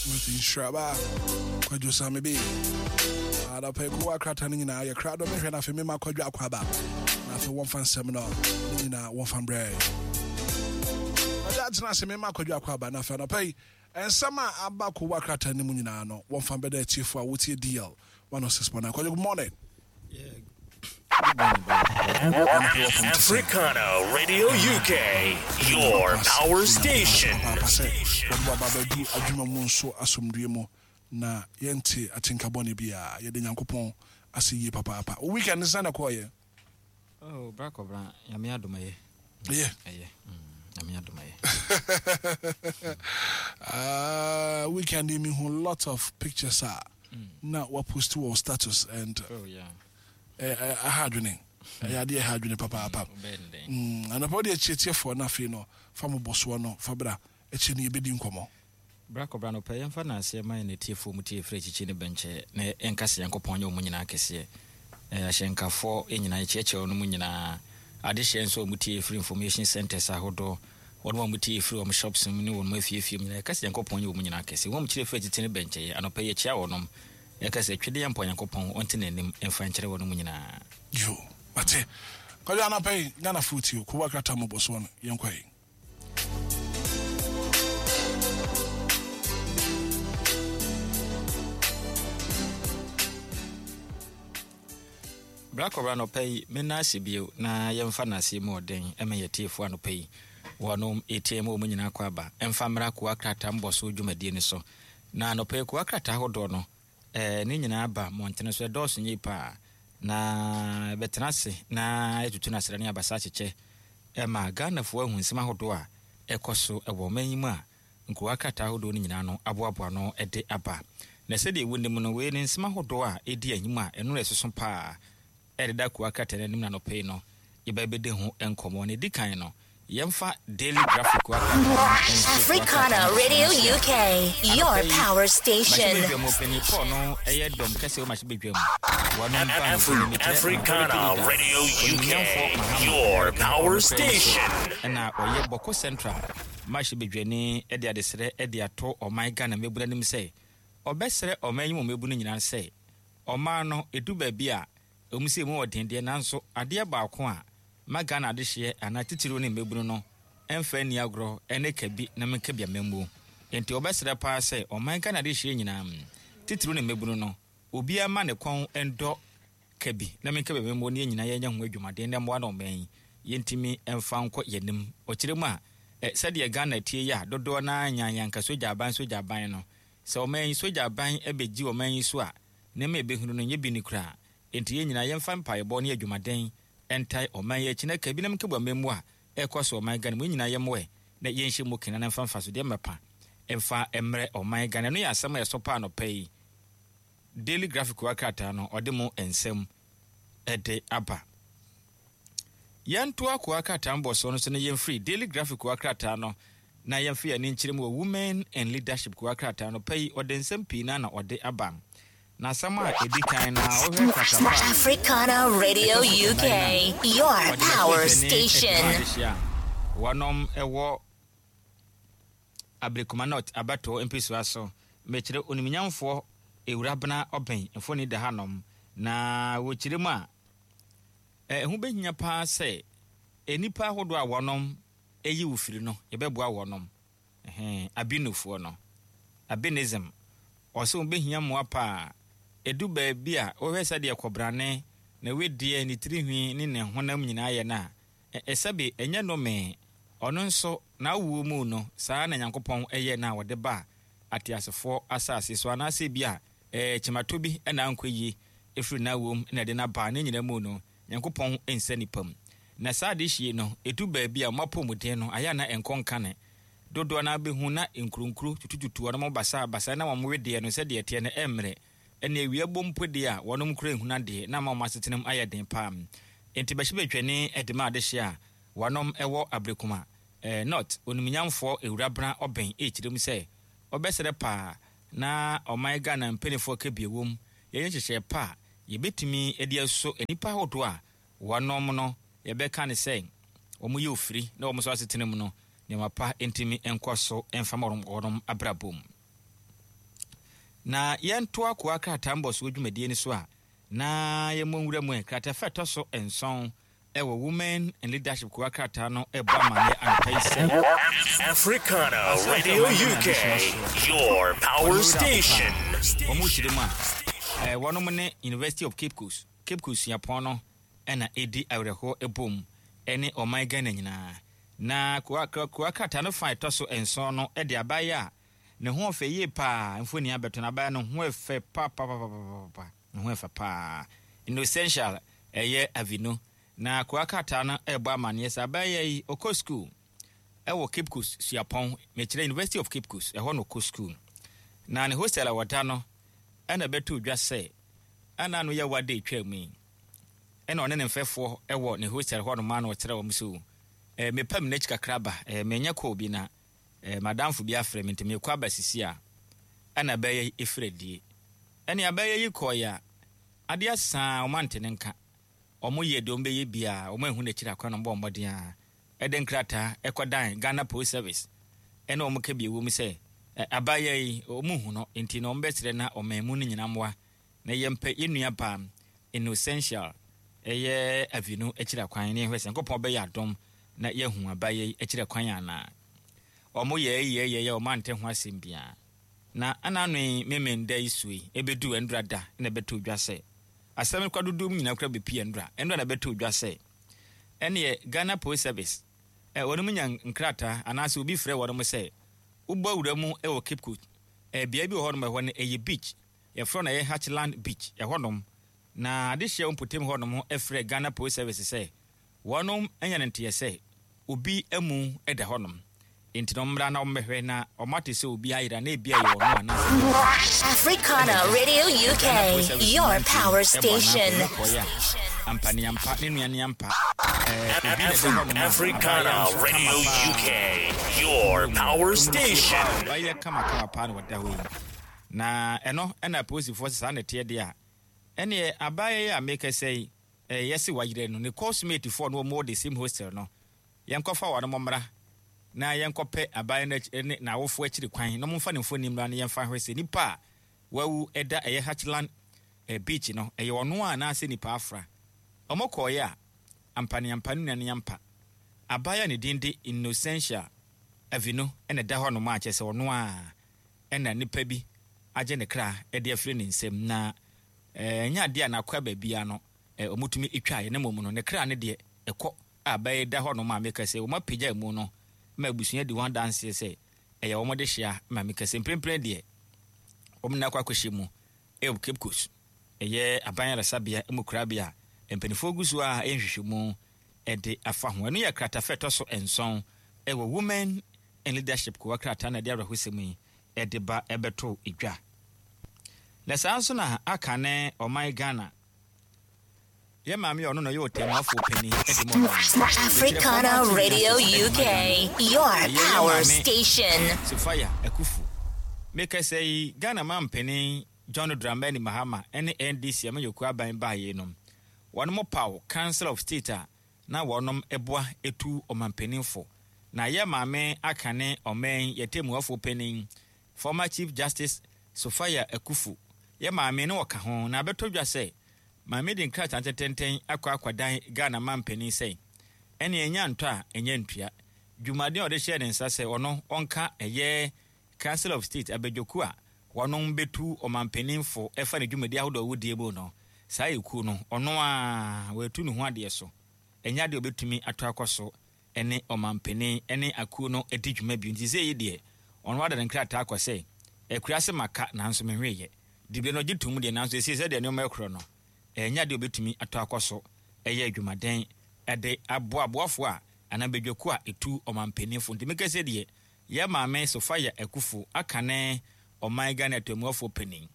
With nhyiraba Kwadwo Same bi. Anɔpa yi kowa krataa no nyinaa yɛ krado mehwɛ no afei mema Kwadwo akɔ aba na afei wɔmfa nsɛm no ne nyinaa wɔmfa mbrɛ. Kwadwo atena ase mema Kwadwo akɔ aba na afei anɔpa yi nsɛm a aba kowa krataa no mu nyinaa no wɔmfa mbɛda atiefo a wotie DL 106.9. Kwadwo, good morning. Yeah. Good morning, brother. Africana Radio UK, your power station. Wɔde waba abɛdu adwuma mu nso asomdue mu na yɛnte atenka bɔne biara. Yɛde Nyankopɔn ase yie papaapa. Wo weekend no sɛn na ɛkɔɔyɛ? Oh, bra kɔbra, Nyame adom ɛyɛ. Ɛyɛ. Ɛyɛ. Nyame adom ɛyɛ. Weekend yi mehu lot of pictures a na wapost wɔ status and Oh, yeah. Ɛha adwene. Ɛyɛ adeɛ ɛha adwene papaapa. Anɔpa wode akyiekyiefoɔ no afei no fa mo bɔsoɔ no fa bra akyire no yɛbɛdi nkɔmmɔ. Bra kɔbra anɔpa yi yɛmfa naaseɛ ma yɛn atiefoɔ mu tie firi akyikyi ne bɛnkyɛ na yɛnka sɛ Nyankopɔn nyɛ wɔn nyinaa kɛseɛ. Ahyɛnkafoɔ nyinaa yɛkyeakyea wɔn mu nyinaa. Adehyeɛ nso a wɔn tie firi information centers ahodoɔ, wɔn a wɔn tie firi wɔn shops mu ne wɔn afiefie mu nyinaa yɛka sɛ Nyankopɔn nyɛ wɔn nyinaa kɛseɛ. Wɔn a wɔkyerɛ firi akyikyi ne bɛnkyɛ yɛ anɔpa yi yɛkyea wɔnom. Yɛka sɛ, Twedeɛ mpo Nyankopɔn ɔnte n'anim mfa nkyerɛ wɔnom nyinaa. Yoo, mate. Kwadwo anapa yi, Ghana foɔ tie o, Kowa krataa mmɔbɔsoɔ no, yɛnkɔ ɛ. Bra kɔbra anɔpa yi, menna ase bio na yɛmfa nnaseɛ mu ɔden ma yɛn atiefoɔ anɔpa yi. Wɔnom ɛtie ma wɔn nyinaa kɔ aba mfa mmra Kowa krataa mmɔbɔsoɔ dwumadie no so. Na anɔpa yi kowa krataa ahodoɔ no, ne nyinaa ba mmɔntene so, ɛdɔɔso yie paa. Na yɛbɛtena ase na yɛatutu no asra ne abasa akyekyɛ ma Ghanafoɔ ahu nsɛm ahodoɔ a ɛkɔ so wɔ ɔman yi mu a nkowa krataa ahodoɔ no nyinaa no aboaboa ano de aba. Na sɛdeɛ wonim no, wei ne nsɛm ahodoɔ a ɛdi anim a ɛno na ɛsoso paa ɛreda kowa krataa no anim no anɔpa yi no, yɛbɛbɛdi ho nkɔmmɔ. Na ɛdi kan no, yɛmfa Daily Graphic kowa krataa no nhyɛ kowa Africana krataa no Radio nhyia. UK, your Anɔpa yi, power station. Mmarahyɛbadwam ɔpanin Paul no yɛ dɔm kɛseɛ wɔ mmarahyɛbadwam. Wɔnom ba mfoni mekyerɛ Minority Africana Leader, Radio Onimnyamfoɔ UK, Mahama your American power ɔno koraa nso station. ɛna ɔyɛ Bɔko Central mmarahyɛbadwani de adesrɛ de ato ɔman Ghana mmabunu anim sɛ ɔbɛsrɛ ɔman yi mu mmabunu nyinaa sɛ Ɔman no, ɛdu baabi a, ɛwom sɛ ɛmu wɔ den deɛ, nanso adeɛ baako a ma Ghana adehyeɛ anaa titiriw ne mmabunu no mfa nni agorɔ ne ka bi na menka bi amammuo. Enti wɔbɛsrɛ paa sɛ ɔman Ghana adehyeɛ nyinaa, titiriw ne mmabunu no, obiara mma ne kɔn ndɔ ka bi na menka bi amammuo na yɛn nyinaa yɛnyɛ ho adwumaden na mmoa na ɔman yi yɛntumi mfa nkɔ yɛn anim. Ɔkyerɛ mu a, sɛdeɛ Ghana tie yi a dodoɔ no ara nyan yɛn anka sogya aban sogya aban no, Sɛ ɔman yi sogya aban bɛgye ɔman yi so a, nneɛma a yɛbɛhunu no nyɛ bi ni koraa. Enti yɛn nyinaa yɛmfa mpaebɔ ne adwumaden ntae ɔman yi akyi na ka binom nkɛbu amammuo a ɛrekɔ so wɔ ɔman Ghana mu. Yɛn nyinaa yɛmmoa ɛ na yɛnhyɛ mu kena na mfa mfasodeɛ mmapa mfa mmrɛ ɔman Ghana. Ɛno yɛ asɛm a ɛsɔ paa anɔpa yi. Daily Graphic wɔ krataa no ɔde mu nsɛm de aba. Yɛntoa koa krataa mbɔsoɔ no so na yɛmfiri Daily Graphic koa krataa no na yɛmfa yɛn ani nkyerɛ mu wɔ Women in Leadership koa krataa no pa yi ɔde nsɛm pii na na ɔde aba. Na asɛm a ɛdi kan na wohwɛ kratafa a Africana Radio ɛtɔ so UK, nnan a your ɔde power bɛhyɛ dwani adwuma station. adehyia a wɔnom ɛwɔ Ablekuma North abatoɔ mpesua so. Mekyerɛ onimnyamfoɔ Ewurabena Ɔbɛn mfoni da hanom. Na wɔkyerɛ mu a, ɛho bɛhia paa sɛ nnipa ahodoɔ a wɔnom yi wo firi no, yɛbɛboa wɔnom. Ɛhɛn, Abinofoɔ no. Abinism. Ɔse wɔn bɛhia mmoa paa. Ɛdu baabi a, wohwɛ sɛdeɛ kɔbrane, ne wedeɛ, ne tirihwi ne ne honam nyinaa yɛ no a, ɛ, sɛbe ɛnyɛ nnome. Ɔno nso, n'awoɔ mu no, saa na Nyankopɔn yɛɛ no a ɔde baa ateasefoɔ asase so. Anaasɛ ebia, ɛɛ, kyematɔ bi na ankɔ yie firi n'awoɔ mu na ɛde no aba. Ne nyinaa mu no, Nyankopɔn nsa nnipa mu. Na saa adehye no, ɛdu baabi a wɔn apɔmuden no, ayɛ a na ɛnkɔ nkane. Dodoɔ no ara bɛhu na nkuronkuro tutututu wɔn basabasa na wɔn wedeɛ no sɛdeɛ ɛteɛ no ɛmmrɛ. Ɛnna awia bɔ mpo deɛ a, wɔnom koraa nhunu adeɛ na ama wɔn asetena mu ayɛ den paa. Enti bɛhyɛ bɛtwani de ma adehye a wɔnom wɔ Ablekuma North Onimnyamfoɔ Ewurabena Ɔbɛn rekyerɛ mu sɛ ɔbɛsrɛ paa na ɔman Ghana mpaninfoɔ ka bi ɛwom yɛnyɛ nhyehyɛɛ pa a yɛbɛtumi de asɔ nnipa ahodoɔ a wɔnom no yɛbɛka no sɛ wɔn yɛ ofiri na wɔn nso asetena mu no nneɛma pa ntumi nkɔ so mfa ma wɔn abrabɔ mu. Na yɛntoa kowa krataa mbɔsoɔ dwumadie no so a, na yɛmmɔ nwura mu ɛ. Kratafa a ɛtɔ so nson wɔ Women in Leadership kowa krataa no rebɔ amanneɛ anɔpa yi sɛ. Africana Asase a Radio ɔman Ghana UK, adesua soɔ. your power Wɔn wura station. Akofa, wɔn kyerɛ mu a, eh, wɔnom ne University of Cape Coast, Cape Coast Suapɔn no na ɛdi awerɛhoɔ bom ne ɔman Ghana nyinaa. Na kowa, kowa krataa no fa a ɛtɔ so nson no de abaeɛ a Ne ho ɔfɛ yie paa mfoni abɛto no abaya no ho ɛfɛ papapapapapa ne ho ɛfɛ paa Innocentia ɛyɛ Avino na koa krataa no ɛbɔ amaneɛ sɛ abaya yi ɔkɔ school ɛwɔ Cape Coast suapɔn mekyerɛ University of Cape Coast ɛhɔ na ɔkɔ school na ne hostel a wɔda no ɛna ɛbɛto dwa sɛ ɛna ano yɛ wada etwa mu yi ɛna ɔne ne mfɛfoɔ ɛwɔ ne hostel hɔ nom a na ɔkyerɛ wɔn so ɛɛ mepam n'akyi kakra ba ɛɛ menya kɔɔ bi na Eh, m'adamfo bi afrɛ me nti merekɔ aba sisi a, ɛna abɛɛyɛ yi efiri adie. Ɛne abɛɛyɛ yi kɔɔeɛ a, adeɛ asa a wɔn ante ne nka. Wɔn yɛɛ deɛ wɔn bɛyɛ biara, wɔn anhu n'akyiri akwan na wɔn bɔɔ mmɔden ara ɛde nkrataa ɛkɔdan Ghana Post Service ɛne wɔn ka bi ɛwɔ mu sɛ, eh, abaayewa yi wɔn nhu no nti na wɔn bɛsrɛ na ɔman mu no nyina mmoa na yɛmpɛ yɛn nua baa Innocentia ɛyɛ Avinu akyiri akwan na yɛnhwɛ sɛ Nyankopɔn bɛyɛ adom na yɛahu abayɛ yi akyiri kwan anaa. Wɔn yɛɛ yɛɛ yɛɛ wɔn ante ho asɛm biara. Na ɛna ano yi Memenda yi so yi ɛbɛduu ɛndora da na ɛbɛtoo dwa sɛ asɛm no kora dodoɔ mu nyinaa kora bɛpie ɛndora. Ɛndora na ɛbɛtoo dwa sɛ ɛneɛ Ghana Post Service ɛ wɔnom nya nkrataa anaasɛ obi frɛ wɔnom sɛ wobɔ awura mu wɔ Cape Coast ɛ beaɛ bi wɔ hɔnom ɛhɔ no ɛyɛ beach yɛfrɛ no ɛyɛ Hatchland Beach ɛhɔnom na adehyeɛ wɔ mpɔtam hɔnom frɛ Ghana Post Service sɛ Wɔnom anya no nteɛ sɛ obi amu da hɔnom, enti no wɔmmra na wɔmmɛhwɛ na wɔate sɛ obi ayera na ebia ɛyɛ ɔno anaasɛ ɛnyɛ ɔno a. Africana Ɛna agya, Radio Ghana Police UK, Service your nyinaa nti power ɛbɔ anaa station. wɔn kɔeɛ a, ampa ne ampa, ne nua ne ampa, ɛɛ, obi na ɛda hɔnom a abaayewa Africana nso kama Radio paa. UK, your Wɔn power mu sie station. paa, abaayewa kama kama paa na ɔda hɔ yi. Na ɛno ɛna apolisifoɔ sɛ saa na ɛteɛ deɛ a, ɛneɛ abaayewa yi a mekasa yi, Eh yɛse wayerɛ no ne course mate foɔ no wɔn wɔ the same hostel no yɛnkɔfa wɔnom mmra na yɛnkɔpɛ abaayewa no akyi ne n'awofoɔ akyiri kwan na wɔmfa ne mfoni mmra na yɛmfa nhwɛ sɛ nipa a wawu ɛda ɛyɛ Hatchland eh, beach no ɛyɛ ɔno a anaasɛ nipa afra. Wɔn kɔɔeɛ a ampa ne ampa ne nua ne ampa abaayewa a ne din de Innocentia Avinu na ɛda hɔ nom a kyerɛ sɛ ɔno a ɛna nipa bi agye ne kra de afiri ne nsam na Ɛnyɛ adeɛ a n'akoa baabiara no wɔtumi twaeɛ, na mmom no, ne kra no deɛ, ɛkɔ a bɛyɛ da hɔnom a meka sɛ wɔapagya amu no ma abusua di ho adanseɛ sɛ ɛyɛ wɔn dehyeɛ ma meka sɛ mprempren deɛ wɔn nyinaa akɔ akɔhyɛ mu wɔ Cape Coast, ɛyɛ aban ayaresabea mu korabea a mpanimfoɔ gu so a ɛyɛ nhwehwɛmu de afa ho. Ɛno yɛ kratafa ɛtɔ so nson wɔ Women in Leadership kowa krataa na ɛde awerɛhosɛm yi de ba bɛtoo dwa. Na saa nso na aka ne ɔman Ghana. Yɛ maame a ɔno na ɔyɛ ɔtɛmmuafoɔ panin de ma ɔman no. Africana Radio UK, your Ɛyɛ yɛ power maame station. Sophia Akuffo. Mekasa yi, Ghana mampanin John Dramani Mahama ne NDC amanyɔkuo aban baeɛ yi no, wɔnom paw Council of State a na wɔnom boa tu ɔmanpanin fo. Na yɛ maame aka ne ɔman yi yɛtɛmmuafoɔ panin, former Chief Justice Sophia Akuffo, yɛ maame no ɔka ho. Na abɛtɔ dwa sɛ maame de nkrataa tententen akɔ akɔdan Ghana manpanin sɛ ɛneɛ ɛnya ntɔ a ɛnya ntua. Dwumaden a ɔde hyɛɛ ne nsa sɛ ɔno ɔnka ɛyɛ Council of State abadwakuo a wɔnom bɛtu ɔmanpanin fo ɛfa ne dwumadi ahodoɔ a wɔdie mu no, saa ekuo no, ɔno ara watu ne ho adeɛ so. Ɛnyɛ adeɛ a ɔbɛtumi atɔ akɔ so ne ɔmanpanin ne akuo no adi dwuma bio. Nti seisei yi deɛ, ɔno ada ne nkrataa akɔ sɛ, Akuraase maka nanso menweeɛ. Diberɛ no ɔgye tom deɛ nanso seisei sɛdeɛ nneɛma rekorɔ no, ɛnyɛ adeɛ a ɔbɛtumi atɔ akɔ so yɛ adwumaden de aboa aboafoɔ a anaa badwakuo a ɛtu ɔmanpanin fo. Nti meka sei deɛ, Yɛ maame Sophia Akuffo aka ne ɔman Ghana Atemmuafoɔ panin,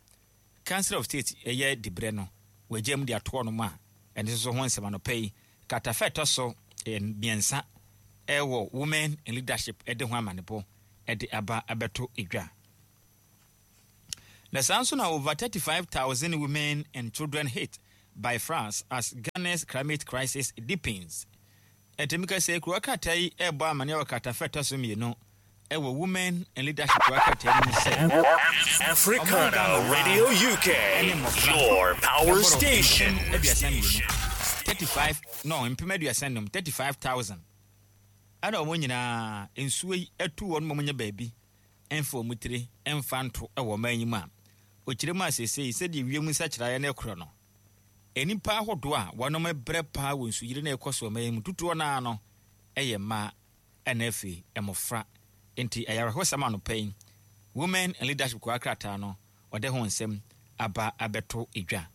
Council of State yɛ dibrɛ no wagya mu de ato hɔnom a ɛno nso ho nsɛm anɔpa yi kratafa ɛtɔ so mmiɛnsa wɔ Women in Leadership de ho amanebɔ de aba abɛto dwa. Na saa nso na over 35,000 women and children hit by floods as Ghana's climate crisis deepens. Ɛtumi ka sɛ kurowa krataa yi rebɔ amanneɛ wɔ kratafa a ɛtɔ so mmienu. Ɛwɔ Women in Leadership krataa no mu sɛ, Ɔman Ghana Africana mmaa Radio UK, ne mmɔfra your power bɛboro station. 32,000, 35, no, 35,000, 35,000, ɛna wɔn nyinaa nsuo yi atu wɔn ma wɔnya baabi mfa wɔn tiri mfa nto wɔ ɔman yi mu a, ɔkyerɛ mu a seesei sɛdeɛ wiem nsakyeraeɛ no rekorɔ no, nnipa ahodoɔ a wɔnom brɛ paa wɔ nsuyire no a ɛrekɔ so ɔman yi mu dodoɔ no ara no yɛ mmaa. Ɛna afei mmofra. Enti ɛyɛ awerɛhosɛm anɔpa yi, Women in Leadership kowa krataa no, wɔde ho nsɛm aba abɛto dwa.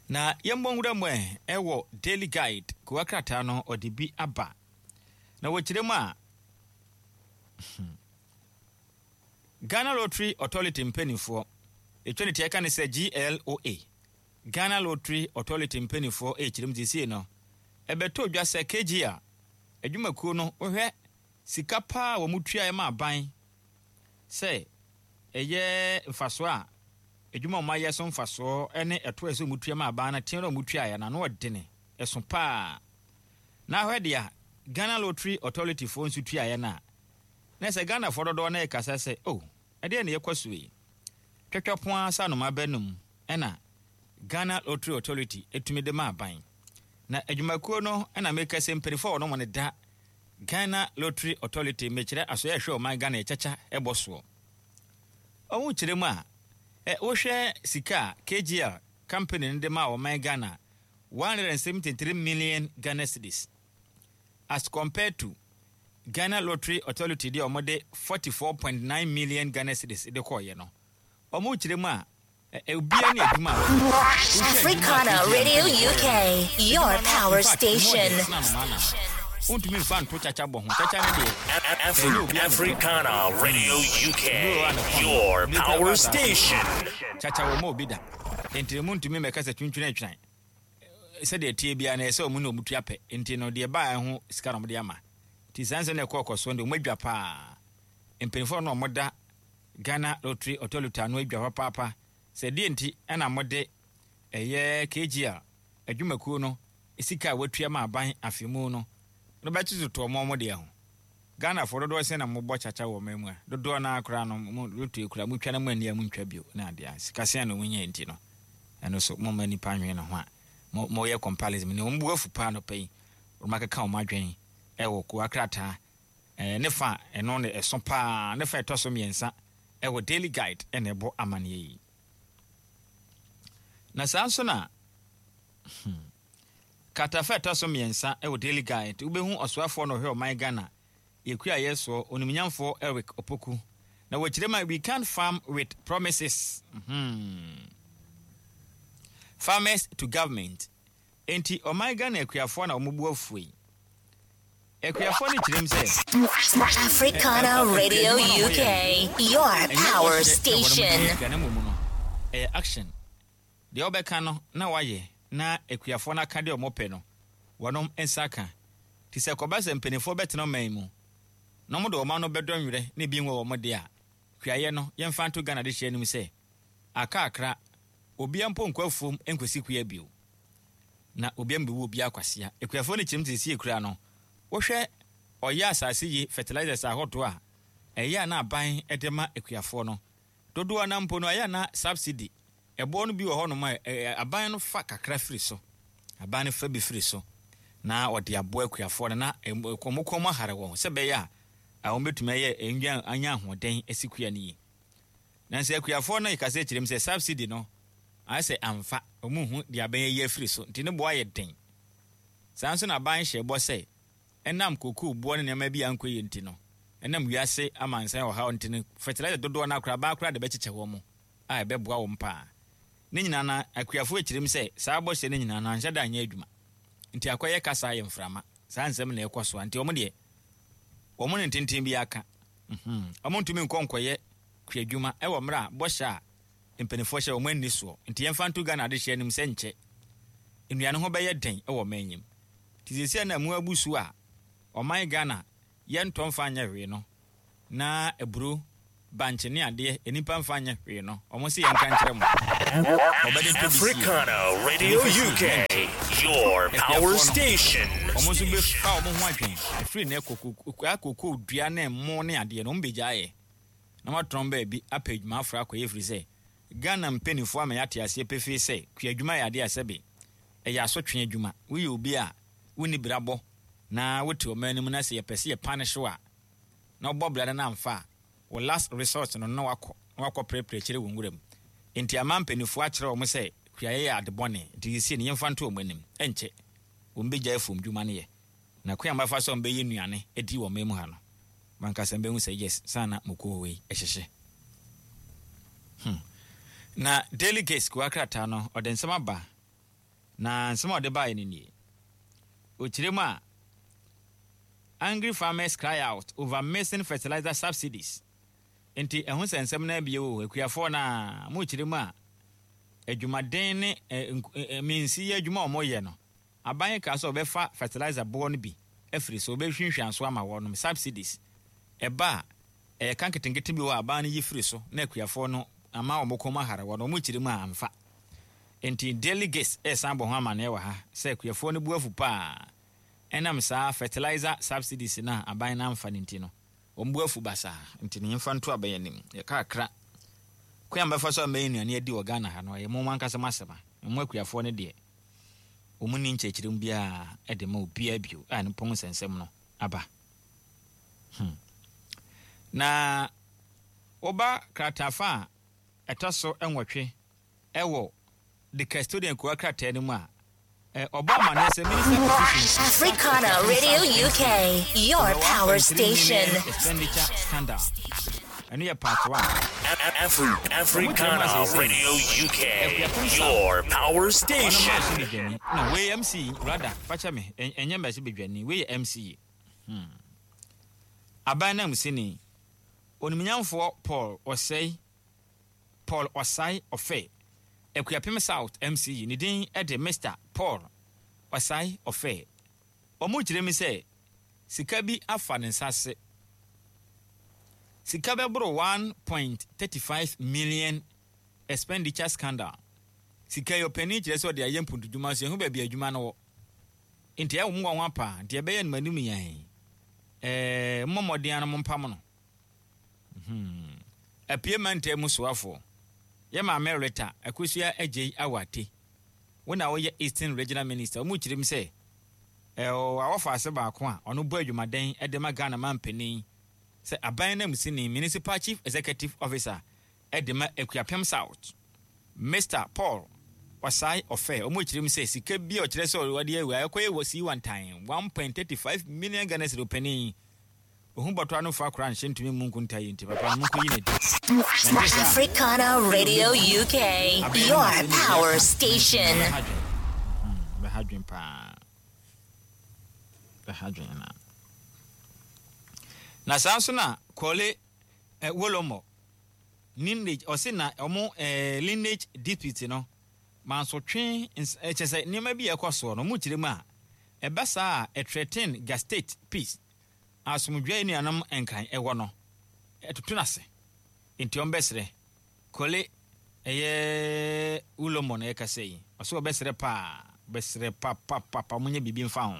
Na yɛmmɔ nwura mu ɛ, ɛwɔ Daily Guide kowa krataa no, wɔde bi aba. Na wɔkyerɛ mu a, Ghana Lottery Authority mpanimfoɔ, ɛtwa ne ti ɛka ne sɛ GLOA, Ghana Lottery Authority mpanimfoɔ rekyerɛ mu seesei no, ɛbɛtɔ dwa sɛ KGL adwumakuo no wohwɛ sika paa a wɔtuaeɛ ma aban sɛ ɛyɛ mfasoɔ a adwuma a wɔayɛ so mfasoɔ ne ɛto a ɛsɛ wɔtua ma aban no teɛ no a wɔtuaeɛ no ano ɔdene ɛso paa. Na ahwɛ deɛ a Ghana Lottery Authority foɔ nso tuaeɛ no a, na sɛ Ghanafoɔ dodoɔ no rekasa sɛ oh, ɛdeɛn na yɛkɔ so yi? Twɛtwɛ po ara sɛ anoma bɛnum na Ghana Lottery Authority tumi de ma aban. Na adwumakuo no na meka sɛ mpanyinfoɔ a wɔn wɔn da Ghana Lottery Authority mekyerɛ asoɛ ɛhwɛ ɔman Ghana ɛkyakya ɛbɔ soɔ. Wɔn kyerɛ mu a, ɛ wohwɛ sika a KGL company no de ma ɔman Ghana 173 million Ghana cedis as compared to Ghana Lottery Authority deɛ wɔn de 44.9 million Ghana cedis de kɔɔyɛ no. Wɔn kyerɛ mu a, obiara ne adwuma a wɔyɛ. Wohwɛ adwuma a Africana KGL Radio mpanyinfoɔ yɛ no, UK, your adwuma no power in fact emu station. ɔden sene anomaa nam. Wontumi mfa nto kyakya bɔ ho. Kyakya no deɛ, ɛnyɛ obiara na ɛtɔ. Africana Radio UK, Obi wɔ hɔ a ne kɔn dɔ. your Obi koraa power ba asase so. station. Kyakya wɔmma obi da. Enti no montumi mmɛka sɛ twintwene atwan. Sɛdeɛ ɛteɛ biara no, ɛyɛ sɛ wɔn ne wɔn tua pɛ. Enti no deɛ ɛbaa ɛho sika na wɔde ama. Nti saa nsɛm no ɛkɔɔ kɔ soɔ no deɛ wɔn adwa paa. Mpanimfoɔ no na wɔda Ghana Lottery Authority ano adwa papaapa sɛ deɛ nti na mode ɛyɛ KGL adwumakuo no sika a wɔatua ma aban afe mu no no bɛtototoɔ mo mo deɛ ho. Ghanafoɔ dodoɔ sɛn na mobɔ kyakya wɔ ɔman mu a? Dodoɔ no ara koraa no mo lottery koraa motwa na moanni a montwa bio ne adeɛ a sika sɛn na wɔnya nti no ɛno so momma nnipa nwene ne ho a mo moyɛ comparison ne wɔn bo afu paa anɔpa yi wɔn akeka wɔn adwene ɛwɔ kowa krataa Ɛɛ, ne fa a ɛno na ɛso paa, ne fa a ɛtɔ so mmiɛnsa wɔ Daily Guide na ɛbɔ amanneɛ yi. Na saa nso na hmm, kratafa a ɛtɔ so mmiɛnsa wɔ Daily Guide, wobɛhu ɔsoafoɔ na ɔhwɛ ɔman Ghana yɛkuayɛ soɔ, onimnyamfoɔ Eric Opoku. Na wɔkyerɛ mu a, we can't farm with promises. Hmm. Farmers to government. Enti ɔman Ghana akuafoɔ na wɔn bo afuo yi. Akuafoɔ no kyerɛm sɛ. Africana Radio UK, your power station. Na mmom no, ɛyɛ action. Deɛ wobɛka no na wayɛ na akuafoɔ no aka deɛ wɔpɛ no, wɔnom nsa ka. Nti sɛ ɛkɔba sɛ mpanimfoɔ bɛtena ɔman yi mu na wɔde wɔn ano bɛdɔ nwerɛ na ebi nwɔ wɔn deɛ a, kuayɛ no yɛmfa nto Ghana adehyeɛ anim sɛ aka akra, obiara mpo nkɔ afuom nkɔsi kua bio. Na obiara mbewu obiara kwasea. Akuafoɔ no kyerɛm te sɛ kura no. Wohwɛ ɔyɛ asase yi fertilizers ahodoɔ a ɛyɛ a na aban de ma akuafoɔ no. Dodoɔ no ara mpo no ɛyɛ a na subsidy, ɛboɔ no bi wɔ hɔnom a aban no fa kakra firi so. Aban no fa bi firi so na ɔde aboa akuafoɔ no na wɔn kɔn mu ahare wɔn sɛ ɛbɛyɛ a wɔbɛtumi ayɛ anya ahoɔden asi kua no yie. Nanso akuafoɔ no kasa kyerɛ mu sɛ subsidy no ayɛ sɛ amfa, wɔn nhu deɛ aban ayi afiri so nti ne boɔ ayɛ den. Saa nso na aban hyɛɛ bɔ sɛ ɛnam kokoo boɔ ne nneɛma bi a ankɔ yie nti no, ɛnam wiase amansan ɔhaw nti no fertilizer dodoɔ no ara koraa aban koraa de bɛkyekyɛ wɔn a ɛbɛboa wɔn paa. Ne nyinaa no akuafoɔ kyerɛ mu sɛ saa bɔhyɛ no nyinaa no anhyɛ da anyɛ adwuma nti akɔyɛ kasa ayɛ mframa. Saa nsɛm na ɛkɔ so a nti wɔn deɛ wɔn ne ntenten biara ka. Wɔntumi nkɔ nkɔyɛ kuadwuma wɔ mmerɛ a bɔhyɛ a mpaninfoɔ hyɛ wɔn anni soɔ. Nti yɛmfa nto Ghana adehyeɛ anim sɛ nkyɛ nnuane ho bɛyɛ den wɔ ɔman yi mu. Nti seesei a na mu abu so a ɔman Ghana yɛntɔ mfa nyɛ hwee no na aburo, bankye ne adeɛ nnipa mfa nyɛ hwee no wɔn se yɛnka nkyerɛ mo. Wɔbɛde tɔ bi sie. Africana Nti Radio yɛmfa sie UK, na nkyɛ your power akuafoɔ no station. Wɔn nso bɛfa wɔn ho adwen ɛfiri nnɛ kɔ kokoo dua ne mmo ne adeɛ no wɔn bɛgya ayɛ na wɔatɔn baabi apɛ adwuma aforo akɔyɛ ɛfiri sɛ Ghana mpaninfoɔ ama yɛate aseɛ pefee sɛ kuadwuma yɛ adeɛ a sɛbe ɛyɛ asotwe adwuma. Woyɛ obi a wonni brabɔ na wote ɔman no mu na sɛ yɛpɛ sɛ yɛ punish wo a na wobɔ bra no na amfa a, wo last resort no na wakɔ na wakɔ prɛprɛ akyire wɔ nwura mu. Enti ama mpaninfoɔ akyerɛ wɔn sɛ kuayɛ yɛ ade bɔne nti seesei no yɛmfa nto wɔn anim. Ɛnkyɛ wɔn bɛgyae afuom dwuma no yɛ. Na kwan a wɔbɛfa so a wɔbɛyɛ nnuane adi wɔ ɔman mu ha no, m'ankasa mɛhu sɛ yes, saa na moko wei hyehye. Hmm. Na Daily Gist kowa krataa no, ɔde nsɛm aba, na nsɛm a ɔde baeɛ no nie. Ɔkyerɛ mu a, Angry farmers cry out over missing fertilizer subsidies. Nti ɛho sɛ nsɛm no abie o, akuafoɔ no a, mokyerɛ mu a, adwumaden ne mensi yɛ adwuma a wɔyɛ no, Aban kaa sɛ ɔbɛfa fertilizer boɔ no bi afiri so, ɔbɛhwinhwan so ama wɔnom, subsidies. Ɛba a, ɛyɛ ka nketenkete bi wɔ hɔ a aban no yi firi so na akuafoɔ no ama wɔn kɔn mu ahare wɔn, wɔn kyiri mu a amfa. Enti Daily Gist resan bɔ ho amaneɛ wɔ ha sɛ akuafoɔ no bo afu paa ɛnam saa fertilizer subsidies no a aban no amfa no nti no, wɔn bo afu basaa. Nti no yɛmfa nto aban anim. Yɛka akra. Kwan a mobɛfa so ama yɛn nnuane adi wɔ Ghana ha no, ɛyɛ mo ankasa mo asɛm a, mo akuafoɔ no deɛ. Wɔnni nkyerɛkyerɛmu biara de ma obiara bio a ne pɔn nsɛnsɛm no aba. Hmm. Na woba kratafa a ɛtɔ so nwɔtwe wɔ The Custodian kowa krataa no mu a, ɔbɔ amanneɛ sɛ Minister petitions Africana Radio UK, your power station. Expenditure scandal. Ɛno yɛ part one. Africana Radio UK, your power station. No, wei MC rather, fakyɛ me, ɛnyɛ mmarahyɛ badwani, wei yɛ MC. Hmm. Aban nanmusini, Onimnyamfoɔ Paul Osei, Paul Osai Offei, Akuapem South MC, ne din de Mister Paul Osai Offei. Wɔkyerɛ mu sɛ sika bi afa ne nsa ase. Sika bɛboro 1.35 million expenditure scandal. Sika yi ɔpanin kyerɛ sɛ ɔde ayɛ mpuntudwuma nso yɛnhu baabi a adwuma no wɔ. Nti ɛyɛ wɔn nwanwa paa. Nti ɛbɛyɛ no m'anim yɛn. Ɛɛ mommɔ mmɔden ara na mompam no. Hmm. Apue mantam mu soafoɔ, yɛ maame Rita Akosua Agyei Awate. Wo na woyɛ Eastern Regional Minister. Wɔn kyerɛ mu sɛ ɔwɔ awɔfo ase baako a ɔno bɔ adwumaden de ma Ghana manpanin sɛ aban nanmusini, Municipal Chief Executive Officer de ma Akuapem South, Mister Paul Osai Ofei. Wɔn kyerɛ mu sɛ sika bi a ɔkyerɛ sɛ ɔde awu a ɛkɔyɛ wɔ Siwantan, 1.35 million Ghana cedi ɔpanin. Ohu bɔtɔ ano fa koraa nhyɛ ntumi mmu nkontaa yi nti papa no monkɔyi no adi. Ɛnte saa a, Africana Radio UK, abɛn your no na sɛ ne power ka station. bɛha dwen. Bɛha dwen paa. Bɛha dwen na. Na saa nso na Kɔle eh, Wolomo lineage ɔse na ɔmo eh, lineage dispute no mansotwe ns eh, kyɛ sɛ nneɛma bi a ɛkɔ soɔ no ɔmo kyerɛ mu a ɛba saa a ɛthreaten ga state peace. Asomdwoe a enuanom Nkran wɔ no, ɛtoto no ase. Enti ɔmbɛserɛ. Kole, ɛyɛ Ulomo na yɛkasa yi, ɔse ɔbɛserɛ paa, ɔbɛserɛ papapapa, monyɛ biribi mfa ho.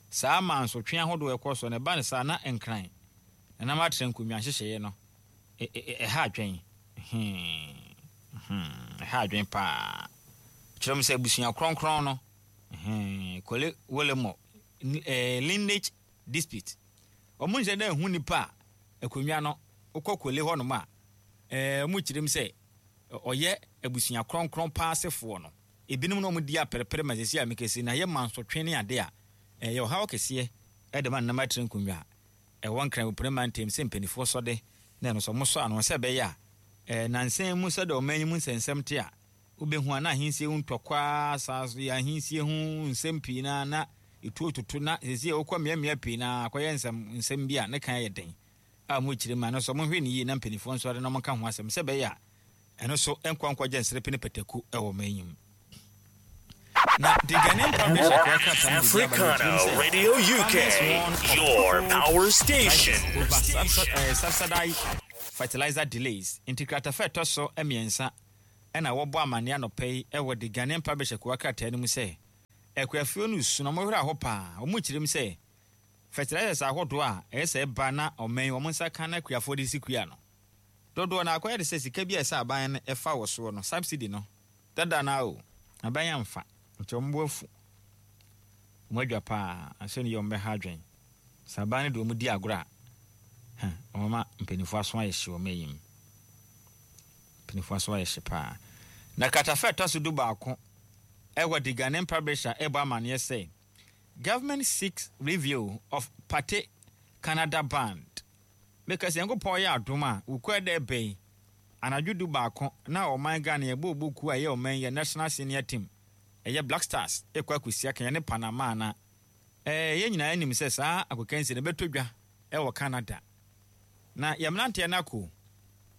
Saa mansotwe ahodoɔ a ɛkɔ soɔ no, ɛba no saa na Nkran nananom atra nkonnwa nhyehyɛeɛ no, ɛha adwen. Hmm, hmm, ɛha adwen paa. Kyerɛ mu sɛ abusua kronkron no, hmm, Kole Wolemo, lineage dispute. Wɔn nhyɛ da nhu nipa a akonnwa no wokɔ Kole hɔnom a, wɔn kyerɛ mu sɛ ɔyɛ abusua kronkron paa asefoɔ no. Ebinom na wɔn di aperepere ma sɛsi a mekɛse na yɛ mansotwe ne ade a ɛyɛ ɔhaw kɛseɛ de ma nnam atire nkonnwa a ɛwɔ Nkran Opene mantam sɛ mpaninfoɔ sɔde na ɛno nso wɔn sɔ ano sɛ ɛbɛyɛ a nansa yi mu sɛdeɛ ɔman yi mu nsɛnsɛm te a Wubehu a na ahensie ho ntɔkwa, saa so yɛ ahensie ho nsɛm pii na na etuo toto na seesei wokɔ mmeammea pii na akɔyɛ nsɛm nsɛm bi a ne kan yɛ den a wɔrekyerɛ mu a ɛno nso wɔnhwɛ no yie na mpanimfoɔ nso ara na wɔnka ho asɛm sɛ ɛbɛyɛ a ɛno nso nkɔ nkɔgye nserepe ne pataku wɔ ɔman yi mu. Na The Ghanaian Publisher kɔɔ krataa no de bi aba na Africana wɔkyerɛ mu sɛ Radio UK, farmers warn of your food power prices station. over subsidized fertilizer delays. Nti kratafa a ɛtɔ so mmiɛnsa na wɔbɔ amanneɛ anɔpa yi wɔ The Ghanaian Publisher kowa krataa no mu sɛ, Akuafoɔ no resu na wɔwerɛ aho paa. Wɔkyerɛ mu sɛ fertilizers ahodoɔ a ɛyɛ sɛ ɛba na ɔman yi wɔn nsa ka na akuafoɔ de si kua no, dodoɔ no ara akɔyɛ te sɛ sika bi a ɛsɛ aban no fa wɔ soɔ no, subsidy no, dada no ara o, aban amfa, nti wɔn bo afu. Wɔn adwa paa, asɛ no yie wɔn bɛha adwene. Sɛ aban no de wɔn di agorɔ a, huh, wɔbɛma mpanimfoɔ aso ayɛ hye wɔ ɔman yi mu. Mpanimfoɔ aso ayɛ hye paa. Na kratafa a ɛtɔ so dubaako ɛwɔ The Ghanaian Publisher ɛrebɔ amaneɛ sɛ, Government seeks review of Partey Canada Band. Meka sɛ Nyankopɔn yɛ adom a, Wukuada da ɛbɛ yi, anadwo dubaako na ɔman Ghana yɛbɔ ɔbɔ kuo a ɛyɛ ɔman yi yɛ National Senior Team, ɛyɛ Black Stars ɛrekɔ akɔsi akan yɛne Panama na ɛɛ yɛn nyinaa nim sɛ saa agokansie no ɛbɛtɔ dwa ɛwɔ Canada. Na yɛn mmeranteɛ no akɔ o.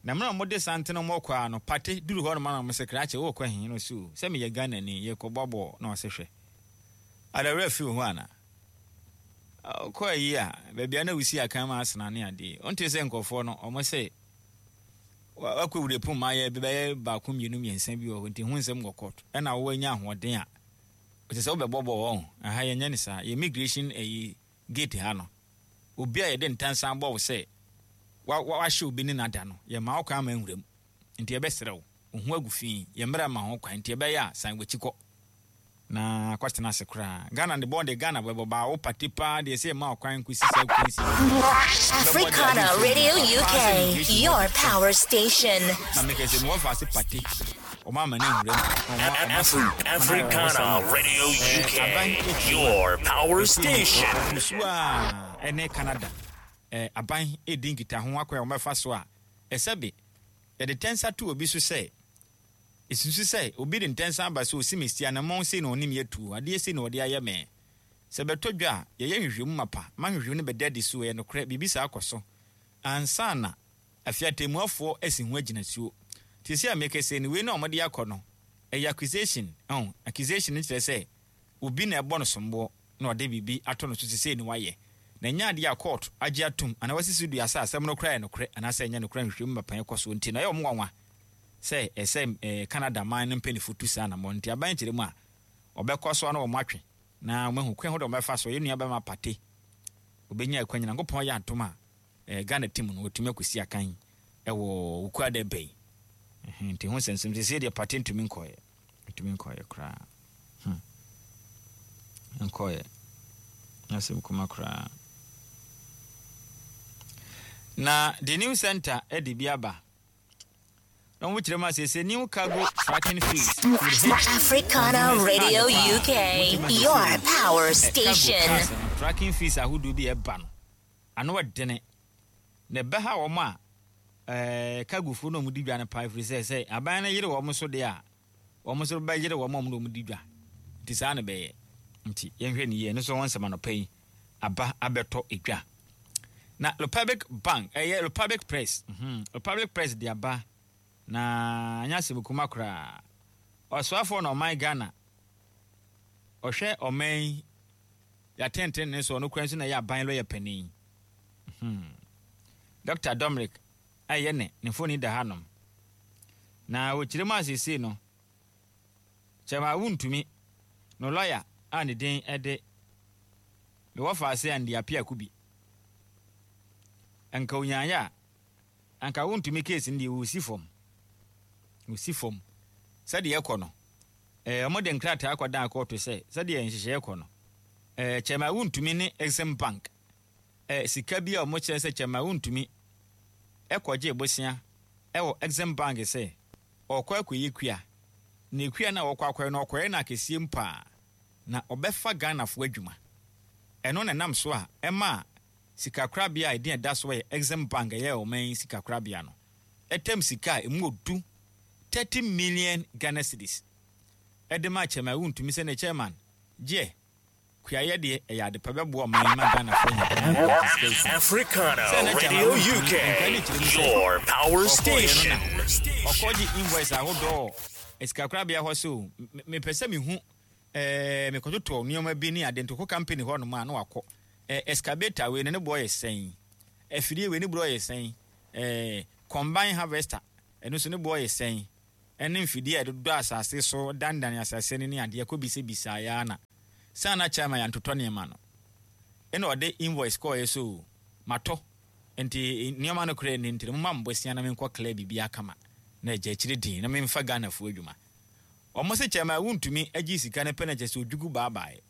Na mmerɛ a wɔde santene wɔn rekɔ ara no, Partey duru hɔ nom ara na wɔse, Krakye, worekɔ he? Na ɔse, O, sɛ meyɛ Ghanani, yɛrekɔbɔ bɔɔl. Na ɔse, Hwɛ, ada werɛ afi wo ho anaa? Wokɔ ayi a, baabi a na wosi akan ma Arsenal ne adeɛ yi, wontee sɛ nkurɔfoɔ no, wɔse, wakɔ wurepo ma ayɛ bɛyɛ baako mmienu mmiɛnsa bi wɔ hɔ, nti ho nsɛm wɔ court. Ɛna woanya ahoɔden a, ɛsɛ sɛ wobɛbɔ bɔɔl, ɔho. Ɛha yɛnyɛ no saa. Yɛ immigration ayi gate ha no, obi a yɛde ntansa abɔ wo sɛ wahyɛ obi ne no ada no, yɛmma wo kwan ma nwura mu. Nti yɛbɛsrɛ wo, wo ho agu fi, yɛn mmara mma ho kwan, nti ɛbɛyɛ a san w'akyi kɔ na kɔtena ase koraa. Ghana de bɔn de Ghana bɛbɔ baa wo pate paa deɛ sɛ yɛmma wo kwan nkosi saa kwansi. Africana Radio UK, your power station. Na mekɛ sɛ mewɔ faase pate. Africana Radio UK, your power station. Nsuo a ɛne Canada aban redi nkitaho akwan a wɔbɛfa so a ɛsɛ be yɛde tɛnsa to obi so sɛ esusu sɛ obi de ntɛnsa aba sɛ osi me si anammɔn sei na ɔne me atu adeɛ sei na ɔde ayɛ me. Sɛ bɛtɔ dwa a, yɛyɛ nhwehwɛmu mapa ma nhwehwɛmu no bɛda adi so ɛyɛ nokorɛ biribi saa kɔ so ansa na Afei atɛmmuafoɔ asi ho agyinatuo. Seesei a merekasa yi no, wei no a wɔde akɔ no, ɛyɛ accusation. Ɔho, accusation no kyerɛ sɛ obi na ɛbɔ no somboɔ na ɔde biribi ato no so sɛ sei na wayɛ. Na ɛnyɛ adeɛ a court agye atom anaa wasi so dua sɛ asɛm no koraa yɛ nokorɛ anaasɛ ɛnyɛ nokorɛ a nhwehwɛmu mapɛn kɔ soɔ nti no, ɛyɛ wɔn nwanwa sɛ ɛsɛ sɛ Canada man no mpaninfoɔ tu saa anammɔn no. Nti aban kyerɛ mu a, wɔbɛkɔ so ara na wɔatwe na wɔahu kwan ahodoɔ a wɔbɛfa so. Yɛn nua bɛrima Partey, ɔbɛnya akwanya, Nyankopɔn yɛ adom a, eh, Ghana team no wɔtumi akɔsi akan wɔ Wukuada ɛbɛ yi. Nti ho nsɛnsɛm sɛsei deɛ Partey ntumi nkɔɛ, ntumi nkɔɛ koraa. Nkɔɛ. Asɛm kuma koraa. Na the new center de bi aba. Na wɔn kyerɛ mu a sɛsɛ new cargo tracking fees. Africana Radio UK, your power station. Cargo cars no, tracking fees ahodoɔ bi ɛba no. Ano ɛdene, na ɛbɛha wɔn a ɛɛ cargofoɔ no a wɔdi dwa no paa ɛfiri sɛ sɛ aban no yere wɔn so deɛ a, wɔn nso bɛyere wɔn a wɔn na wɔdi dwa. Nti saa na ɛbɛyɛ. Nti yɛnhwɛ no yie. Ɛno nso ho nsɛm anɔpa yi aba abɛtɔ dwa. Na Republic Bank, ɛyɛ Republic Press, mm, Republic Press de aba na anyɛ asɛm kuma koraa. Ɔsoafoɔ na ɔman Ghana, ɔhwɛ ɔman yi Yɛatɛntɛn so, ɔno koraa nso na ɛyɛ aban lɔya panin. Hmm. Dɔkta Dominic a ɛyɛ ne ne mfoni da hanom. Na wɔkyerɛ mu a seesei no, kyɛm a wontumi no lɔya a ne din de mewɔ faase Andy Appiah Kubi. Anka onyaeɛ a, anka wontumi case no deɛ wɔsi fam. Wɔsi fam. Sɛdeɛ ɛkɔ no, Eh, wɔde nkrataa kɔdan kɔɔto sɛ, sɛdeɛ nhyehyɛeɛ kɔ no, eh, Chairman Wontumi ne Exim Bank, eh, sika bi a wɔkyerɛ sɛ Chairman Wontumi kɔgyee bosea wɔ Exim Bank sɛ ɔrekɔ akɔyɛ kua, na kua no a ɔrekɔ akɔyɛ no, ɔkɔyɛ no akɛseɛ mu paa, na ɔbɛfa Ghanafoɔ adwuma. Ɛno na ɛnam so a ɛmaa sikakorabea a edin a ɛda soɔ yɛ Exim Bank, ɛyɛ ɔman yi sikakorabea no, tam sika a emu ɔdu 30 million Ghana cedis de maa Chairman Wontumi sɛ ne chairman gyeɛ kuayɛ deɛ ɛyɛ adepa bɛboa ɔman yi ma Ghanafoɔ anya kwan akɔ agye sika afi Africana sɛ na Chairman Radio Wontumi UK, nkae ne kyerɛ mu sɛ your power ɔkɔɔeɛ no station. na ɔkɔgye invoice ahodoɔ wɔ sikakorabea hɔ sɛ o mepɛ sɛ mehu ɛɛ mekɔtotɔ nneɛma bi ne ade ntoko company hɔ nom a na wakɔ ɛɛ excavator wei no ne boɔ yɛ sɛn afidie wei ne boɔ yɛ sɛn ɛɛ combine harvester Ɛno nso ne boɔ yɛ sɛn? Ɛne mfidie a yɛde dodɔ asase so, danedane asase no ne adeɛ kɔbisabisaeɛ ara na. Sɛ na chairman yɛantotɔ nneɛma no, ɛna ɔde invoice kɔɔeɛ so matɔ, nti nneɛma no koraa nni, nti no momma me bosea na menkɔ clear biribiara kama na agya akyire din na memfa Ghanafoɔ adwuma. Wɔn se chairman wontumi agye sika no pɛ na kyerɛ sɛ odwugu baabaeɛ.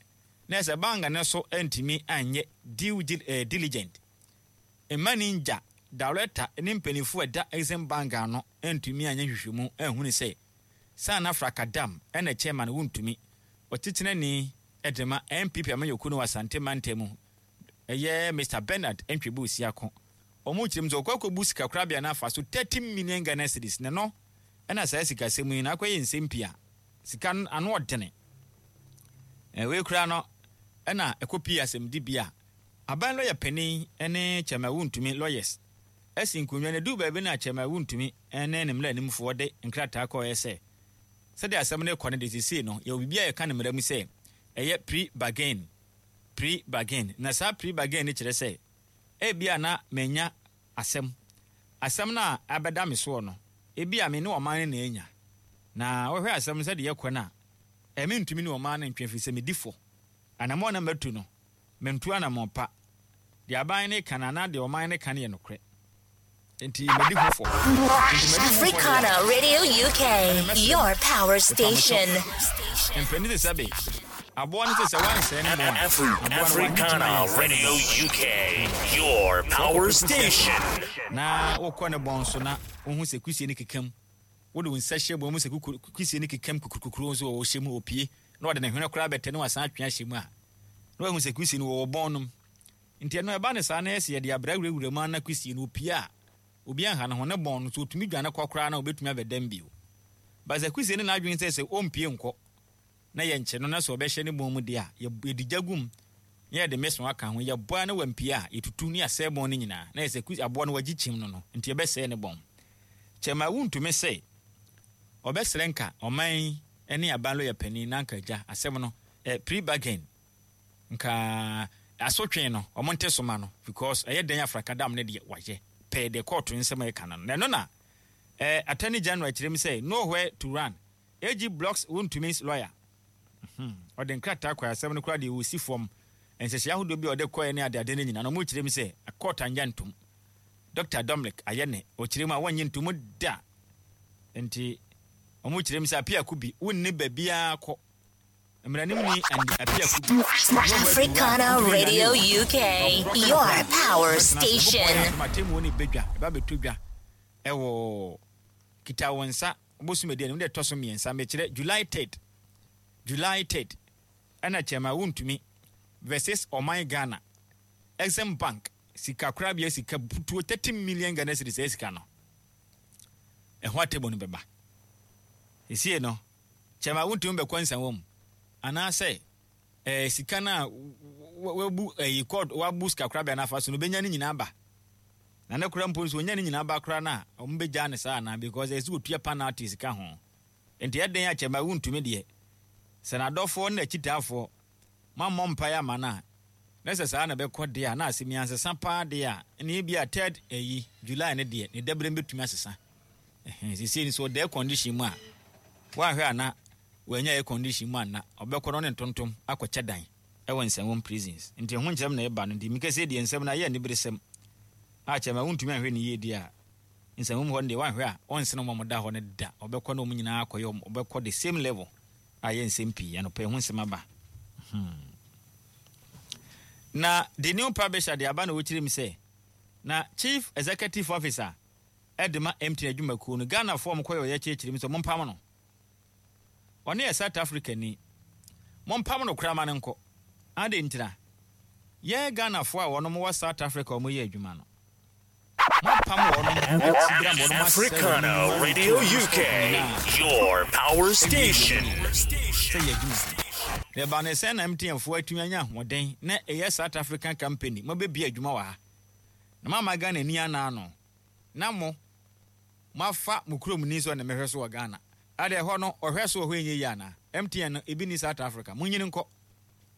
Na sɛ bank no so antumi anyɛ due diligent mma ne ngya director ne mpaninfoɔ a ɛda Exim Bank ano antumi anyɛ nhwehwɛmu anhunu sɛ Sana Frakadam na chairman wontumi ɔtitenani de ma NPP amanyɔkuo no wɔ Asante mantam mu ɛyɛ Mister Bernard Ntwebo Siako. Wɔn kyerɛ mu sɛ ɔkɔ akɔbu sikakorabea no afa so 30 million Ghana cedis na ɛno na saa sikasɛm yi no akɔyɛ nsɛm pii a sika no ano ɔdene. Wei koraa no ɛna ɛkɔpii asɛmdibea a aban lɔya panin ne Chairman Wontumi lawyers asi nkonnwa no. Ɛduu baabi no a Chairman Wontumi ne ne mmaranimfoɔ de nkrataa kɔeɛ sɛ sɛdeɛ asɛm no rekɔ no deɛ seesei no yɛwɔ biribi a yɛka no mmara mu sɛ ɛyɛ pre-bargain, pre-bargain. Na saa pre-bargain no kyerɛ sɛ ebia na manya asɛm. Asɛm no a abɛda me soɔ no, ebia me ne ɔman no na anya. Na wohwɛ asɛm no sɛdeɛ ɛkɔ no a, ɛ, mentumi ne ɔman no ntwe ɛfiri sɛ medi fɔ. Anammɔn a na matu no, mantu anammɔn pa. Deɛ aban no reka no anaa deɛ ɔman no reka no yɛ nokorɛ. Enti madi ho fɔ. Enti madi ho fɔ deɛ a, Africana Radio UK, ɛne mɛsrɛ mo, your power mepa mo kyɛw. station. Mpanin te sɛ be, aboa no te sɛ woansɛe ne bɔn a, aboa no wanyi kyima Africana yɛnsɛe ne Radio bɔn. UK, your Sɛ wokɔpɛ power kusie asɛm station. na wokɔ ne bɔn so na wohu sɛ kusie no keka mu, wode wo nsa hyɛ mu, wohu sɛ kusie no keka mu kukurukukuru nso ɔhyɛ mu, ɔpue, na ɔde ne hwene koraa bɛtɛ na wasan atwe ahyɛ mu a, na wahu sɛ kusie no wɔwɔ bɔn no mu. Nti ɛno ɛba no saa na ɛsɛ yɛde abra wurawura mu ara na kusie no ɔpue a, obi anha ne ho, ne bɔn no, sɛ ɔtumi dwane kɔ koraa no a, ɔbɛtumi abɛdam bio. But sɛ kusie no n'adwene sɛ sɛ ɔmpue nkɔ na yɛnkye no na sɛ ɔbɛhyɛ ne bɔn mu deɛ a, yɛde gya gu mu na yɛde meso aka ho, yɛbɔ ara na wampue a, yɛtutu na yɛasɛe bɔn no nyinaa. Na yɛ sɛ aboa no wagye kyim no no, nti yɛbɛsɛe ne bɔn. Kyɛma wontumi sɛ ɔbɛsrɛ nka ɔman yi ne aban lɔya panin na anka agya asɛm no, eh, pre-bargain, nka asotwe no ɔmo nte so ma no because ɛyɛ dɛn afrakadam no deɛ wayɛ pɛɛ deɛ kɔɔto nsɛm a ɛka no no. Na ɛno na eh, Attorney General kyerɛ mu sɛ nowhere to run, AG blocks Wontumi's lawyer. Ɔde nkrataa kɔe asɛm no koraa deɛ ɔsi fam nhyehyɛe ahodoɔ bi a ɔde kɔɛ ne adeade no nyinaa no ɔmo kyerɛ mu sɛ court anyɛ ntom. Dr. Dominic ayɛ ne ɔkyerɛ mu a wɔnnye ntom da. Nti ɔmo kyerɛ mu sɛ Apiaku bi wonni baabiara kɔ. Mmaranimni Andy Apiaku bi nowhere to run, Africana wontumi nnane Radio o. UK, Ɔborɔ your kɛntɛn power bɛtena ase. Nyankopɔn yɛ station. adom a atemmuo no bɛdwa, ɛba bɛtɔ dwa ɛwɔ kita wo nsa bosom edi anim, deɛ ɛtɔ so mmiɛnsa, mekyerɛ July 3rd, July 3rd, ɛna Chairman Wontumi versus Ɔman Ghana, Exim Bank, sika korabea sika butuo 30 million Ghana cedis, saa sika no, ɛho atemmuo no bɛba. Esie no, Chairman Wontumi bɛkɔ nsanwa mu, anaasɛ ɛɛ sika no a wabu ɛyi kɔɔt wabu sika korabea no afa so no, obenya ne nyinaa ba. Na ne koraa mpo nso onya ne nyinaa ba koraa no a, wɔn bɛgyaa no saa anaa because ɛsɛ sɛ otua penalty sika ho. Nti ɛdɛn a kyɛma wontumi deɛ, sɛ n'adɔfoɔ ne n'akyitaafoɔ moammɔ mpaeɛ amma no a, na sɛ saa na ɛbɛkɔ deɛ a, na asɛm yi ansesa paa deɛ a, ɛnna ebia third ɛyi, July no deɛ, ne daberem bɛtumi asesa. Ɛhɛn, seesei no sɛ ɔda air condition mu a, woanhwɛ a na wannya air condition mu anna, ɔbɛkɔ na ɔne ntontom akɔkyɛ dan. wɔ nsɛnwom prisons nti ɛho nkyerɛm na ɛba no nti meka sei deɛ nsɛm no ayɛ aniberesɛm a kyɛ ma wontumi anhwɛ no yie deɛ a nsɛnwom hɔ no deɛ wanhwɛ a ɔnsene wɔn a wɔda hɔ no da ɔbɛkɔ na wɔn nyinaa akɔyɛ wɔn ɔbɛkɔ the same level a yɛ nsɛm pii anɔpa ɛho nsɛm aba hmm. Na the new publisher de aba na wɔkyerɛ mu sɛ na chief executive officer ɛde ma MTN adwumakuo no Ghanafoɔ a wɔkɔyɛ ɔyɛ kyerɛkyerɛ mu sɛ mompam no. Ɔno yɛ South Africa ni. Mompam no koraa ma no nkɔ. Adɛn ntira? Yɛn Ghanafoɔ a wɔnom wɔ South Africa a wɔyɛ adwuma no, moapam wɔnom akyi berɛ ama wɔnom asɛe wɔnom Africana nnwuma ne Radio wɔnom UK, stock nyinaa your power awie wɔn station. nyinaa sɛ yɛ adwuma. Na ɛbaa no sɛn na MTN foɔ atumi anya ahoɔden na ɛyɛ South African company moabɛbue adwuma wɔ ha na moamma Ghanani anaa no na mo Moafa mo kurom ni sɛ ɔne mɛhwɛ so wɔ Ghana. Adɛn ɛhɔ no ɔhwɛ so wɔ hɔ ɛnyɛ yie anaa? MTN no ebi nni South Africa. Monyini nkɔ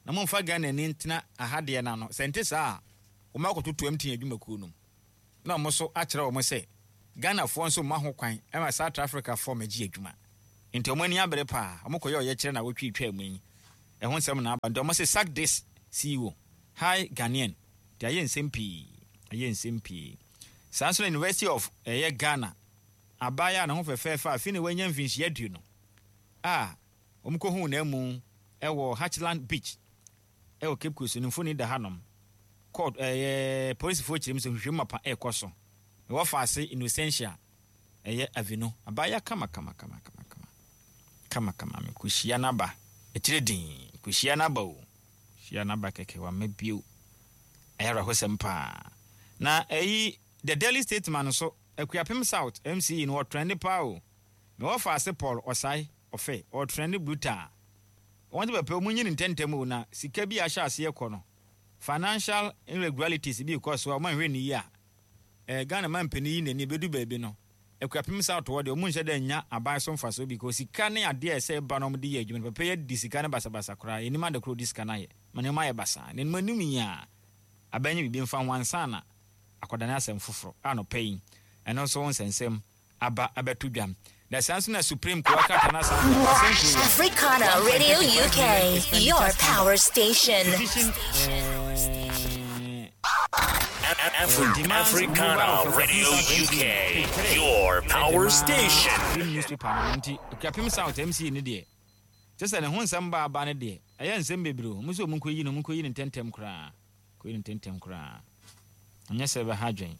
na momfa Ghanani ntena aha deɛ no ano. Sɛ ɛnte saa a wɔn akɔtoto MTN adwumakuo no mu na wɔn nso akyerɛ wɔn sɛ Ghanafoɔ nso mma ho kwan ma South Africa foɔ mmɛgye adwuma. Nti wɔn ani abere paa. Wɔn kɔyɛ ɔyɛkyerɛ na awɔtwe retwaa mu yi. Ɛho nsɛm na aba. Nti wɔn se sack this CEO. Hi Ghanaian. Nti ayɛ nsɛm pii. Ayɛ nsɛm pii. Saa nso na University of ɛyɛ Ghana abaayewa a ne ho fɛfɛɛfɛ a afei na wanya mfinhyia 20 a wɔkɔhuu n'amu wɔ Hatchland Beach wɔ Cape Coast no mfoni da hanom. Court ɛyɛ polisifoɔ kyerɛ mu sɛ nhwehwɛmu mapa ɛrekɔ so. Na wɔfa ase Innocentia ɛyɛ Avinu. Abaayewa kama kama kama kama kama kama kama mekɔhyia n'aba akyire din mekɔhyia n'aba o hyia n'aba kɛkɛ wamma bio. Ɛyɛ awerɛhosɛm paa. Na ɛyi The Daily Statesman nso Akuapem South MCE no ɔtrɛnde paa o. Me wɔfa ase Paul Osai Ɔfɛ ɔtrɛnde brutal. Wɔn de bɛpɛ wɔn nyi no ntɛntɛm o na sika bi a ahyɛ aseɛ kɔ no financial irregularities bi rekɔ so a wɔn anhwɛ no yie a eh, Ghana manpanin yi n'ani bɛdu baabi no Akuapem South hɔ deɛ wɔn nhyɛ da nnya aban so mfasoɔ because sika ne adeɛ a ɛsɛ ɛba na wɔn de yɛ adwuma no papa yi adi sika no basabasa koraa yɛnnim ade korɔ ɔdi sika no ayɛ ma nneɛma ayɛ basaa na anim anim yi a aban nyɛ biribi mfa ho ansa na akɔdane asɛm foforɔ anɔpa yi ɛno nso ho nsɛnsɛm aba abɛto dwa. Na saa nso na Supreme Court krataa no asan aba asɛnkuo wɔ Africana Radio 1.35 million UK, your expenditure power scandal. station. Petition eh, demands removal Africana of Akuapem Radio South MC UK, page 3 your ɛde power ma station. Supreme newspaper no nti Akuapem South MC no deɛ kyɛ sɛ ne ho nsɛm ba aba no deɛ ɛyɛ nsɛm bebree o. Ɔmo sɛ ɔmo nkɔyi no, ɔmo nkɔyi no ntɛntɛm koraa. Kɔyi no ntɛntɛm koraa. Anyɛ sɛ ɛbɛha adwen.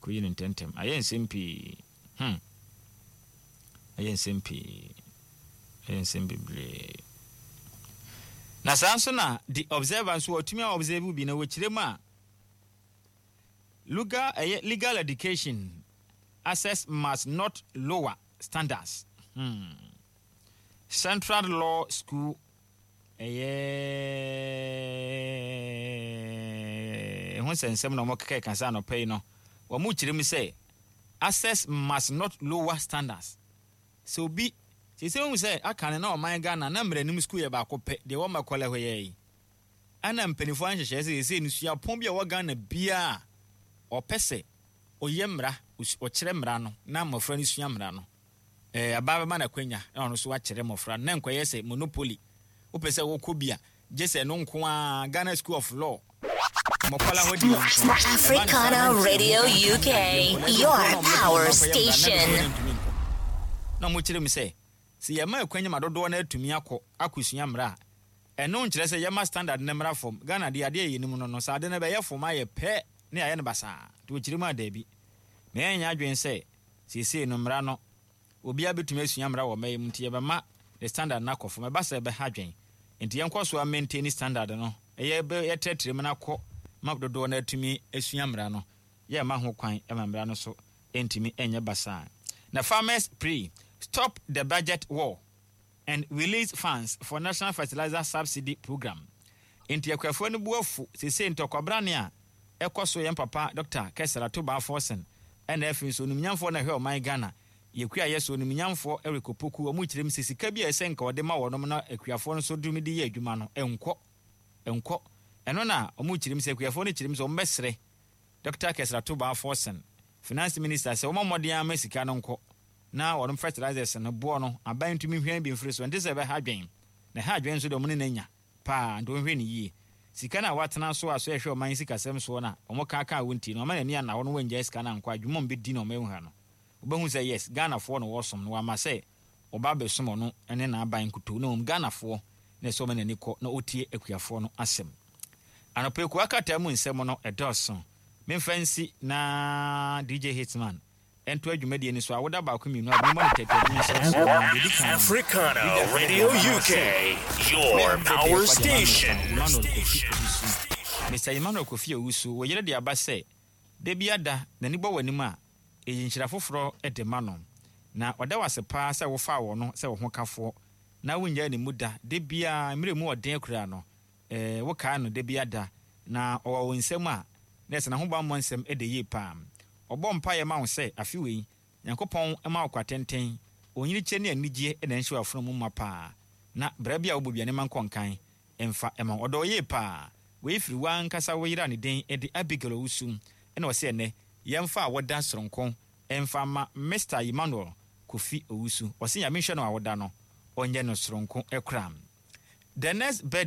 Kɔyi no ntɛntɛm. Ayɛ nsɛm pii. Hmm. Ayɛ nsɛm pii. Ayɛ nsɛm bebree. Na saa nso na The Observer nso wɔatumi a observe bi na wɔkyerɛ mu a legal, ɛyɛ legal education access must not lower standards. Central Law School Ɛyɛ ho nsɛnsɛm na wɔkeka ka sɛ anɔpa yi no, wɔkyerɛ mu sɛ access must not lower standards. Sɛ obi, seesei wohu sɛ aka no na ɔman Ghana na mmaranim sukuu yɛ baako pɛ, deɛ ɛwɔ Makola hɔ yɛ yi. Ɛna mpanimfoɔ ahyehyɛeɛ sɛ seesei no suapɔn bi a ɛwɔ Ghana biara a ɔpɛ sɛ ɔyɛ mmara, ɔkyerɛ mmara no na mmɔfra no sua mmara no, Eh, abaa bɛma no akwanya na ɔno nso akyerɛ mmɔfra no, na nkɔyɛ sɛ monopoly. Wopɛ sɛ wokɔ bi a, gye sɛ ɛno nko ara, Ghana School of Law, Mɔkɔla hɔ deɛ nko. Ɛba no saa na Africana nti ɛho Radio ka nti UK, adeɛ nkɔla bi your wɔ hɔ na wɔn power akɔyɛ mmara na station. adefoɔ no ntumi nkɔ. Na wɔkyerɛ mu sɛ, sɛ yɛma akwanya ma dodoɔ no atumi akɔ akɔsua mmara a, ɛno nkyerɛ sɛ yɛma standard no mmra fam. Ghana deɛ adeɛ a yɛnim no no, sɛ ade no bɛyɛ fam ayɛ pɛ na yɛayɛ no basaa. Nti wɔkyerɛ mu a, daabi. Ma yɛnyɛ adwene sɛ Seesei no mmara no, obiara bɛtumi asua mmara wɔ ɔman yi mu nti yɛbɛma ne standard no akɔ fam. Ɛba saa a ɛbɛha adwene. Nti yɛnkɔ so ara maintaini standard no, yɛtrɛtrɛ mu no akɔ ma dodoɔ no atumi asua mmara no. Yɛmma ho kwan ma mmara no so ntumi nyɛ basaa. Na farmers pray, stop the budget war. and release funds for national fertilizer subsidy program. Enti akuafoɔ no bo afu seesei ntɔkwabrane a ɛkɔ so yɛn papa Dɔkta Kɛsɛr Atobaa Forson ɛna afei nso onimnyamfoɔ na ɛhwɛ ɔman Ghana yɛ kua yɛ so onimnyamfoɔ Eric Opoku wɔn kyerɛ mu sɛ sika bi a ɛsɛ nka wɔde ma wɔnom na akuafoɔ no nso de de yɛ adwuma no ɛnkɔ ɛnkɔ ɛno na wɔn kyerɛ mu sɛ akuafoɔ no kyerɛ mu sɛ wɔn bɛsrɛ Dɔkta Kɛsɛr Atobaa Forson Finance Minister sɛ wɔmmɔ mmɔden ara ma sika no nkɔ na wɔnom fertilizers no boɔ no aban ntumi nhwɛn bi mfiri so ɛnte sɛ ɛbɛha adwen na ɛha adwen nso deɛ wɔn ne no anya paa nti wɔnhwɛ no yie. Sika no a wɔatena so a so ɛhwɛ ɔman yi sikasɛm soɔ no a wɔn kaa kaa wo nti no wɔama n'ani anna hɔ no wɔangyae sika no ankɔ a dwuma a wɔbɛdi na wɔn ahu ha no wobɛhu sɛ yes Ghanafoɔ na wɔresom no wɔama sɛ wɔba abɛsom ɔno ne n'aban nkutoo na mmom Ghanafoɔ na ɛsɛ ɔma n'ani kɔ na ɔtie akuafoɔ no asɛm. Anɔpa yi kowa krataa mu nsɛm no ɛdɔɔso memfa nsi na DJ Hitman ntoa dwumadie no so a woda baako mmienu a memmɔ no tɛtɛ no nhyɛ so na deɛ ɛdi kan no Africana Leaderfoɔ Radio deɛ ɔma UK, sɛ your me mbrɛ deɛ power ɛkɔ deɛ ma station. Mister Emmanuel Kofi Owusu Mister Emmanuel Kofi Owusu wo yere de aba sɛ da bi ada n'ani bɔ w'anim a ɛyi nhyira foforɔ de ma no na ɔda wo ase paa sɛ wofaa wɔ no sɛ wo ho kafoɔ na wonnyae ne mu da da biara mmerɛ mu ɔden koraa no eh, wokae no da biara da na ɔwɔ wo nsam a na ɛsɛ n'ahobammɔ nsɛm da yie paa. Ɔbɔ mpaeɛ ma wo sɛ afe wei, Nyankopɔn mma wo kwa tenten, onyinikyɛ ne anigyeɛ na ɛnhyɛ w'afono mu ma paa, na bra bi a wobɔ biara ne mma nkɔ nkan mfa mma wo. Ɔdɔ wo yie paa. Wei firi w'ankasa wo yere a ne din de Abigail Owusu na ɔse ɛnnɛ yɛmfa awoda soronko mfa mma Mister Emmanuel Kofi Owusu. Ɔse Nyame nhyira no awoda no, ɔnyɛ no soronko koraa. The next birthday.